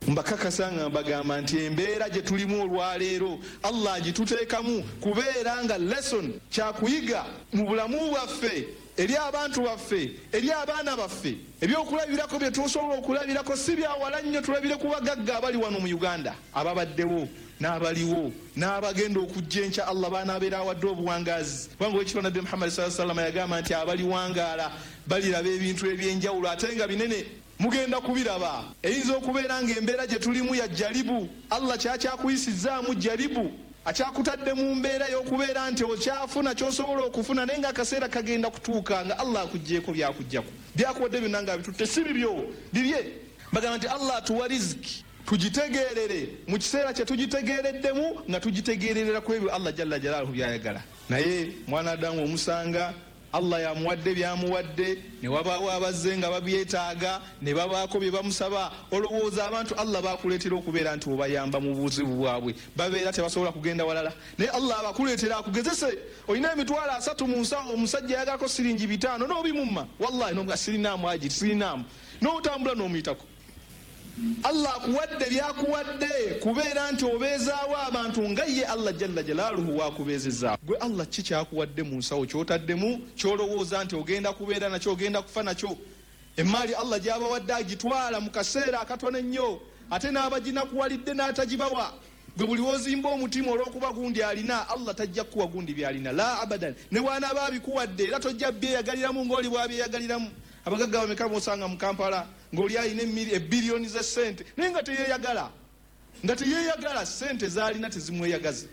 Mbakakasa nga mbagamba nti embeera gye tulimu olwaleero Allah agituteekamu kubeera nga lesson, kyakuyiga mu bulamu bwaffe, eri abantu baffe, eri abaana baffe. Ebyokulabirako bye tusobola okulabirako si byawala nnyo, tulabire ku bagagga abali wano mu Uganda, ababaddewo n'abaliwo n'abagenda okujja enkya Allah baanaabeera awadde obuwangaazi, kubanga Oweekitiibwa Nabbi Muhammad sallallahu alaihi wasallam yagamba nti abaliwangaala baliraba ebintu eby'enjawulo ate nga binene. Mugenda kubiraba. Eyinza okubeera nga embeera gye tulimu ya jjalibu, Allah kyakyakuyisizzaamu jjalibu, akyakutadde mu mbeera y'okubeera nti okyafuna ky'osobola okufuna, naye nga akaseera kagenda kutuuka nga Allah akuggyeeko by'akuggyako. By'akuwadde byonna nga abitutte si bibyo, bibye. Bagamba nti Allah atuwa riziki tugitegeerere mu kiseera kye tugitegeereddemu, nga tugitegeererera ku ebyo Allah jalla jalaaluhu by'ayagala. Naye mwana Adamu omusanga Allah y'amuwadde by'amuwadde, ne wabaawo abazze nga babyetaaga, ne babaako bye bamusaba. Olowooza abantu Allah b'akuleetera okubeera nti obayamba mu buzibu bwabwe babeera tebasobola kugenda walala? Naye Allah abakuleetera akugezese. Olina 300,000 mu nsawo, omusajja ayagalako siringi 500 n'obimumma. Wallahi n'omuga sirinaamu ajiri, sirinaamu. N'otambula n'omuyitako. Allah akuwadde by'akuwadde kubeera nti obeezaawo abantu nga ye Allah jalla jalaaluhu w'akubeezezaawo. Gwe Allah ki ky'akuwadde mu nsawo ky'otaddemu ky'olowooza nti ogenda kubeera nakyo, ogenda kufa nakyo? Emmaali Allah gy'abawadde agitwala mu kaseera akatono ennyo, ate n'abaginakuwalidde n'atagibawa. Gwe buli w'ozimba omutima olw'okuba gundi alina, Allah tajja kukuwa gundi by'alina, la abadan. Ne bw'anaaba abikuwadde era tojja byeyagaliramu ng'oli bw'abyeyagaliramu. Abagagga bameka b'osanga mu Kampala ng'oli alina ebbiliyoni z'essente naye nga teyeyagala, nga teyeyagala, ssente z'alina tezimweyagaza.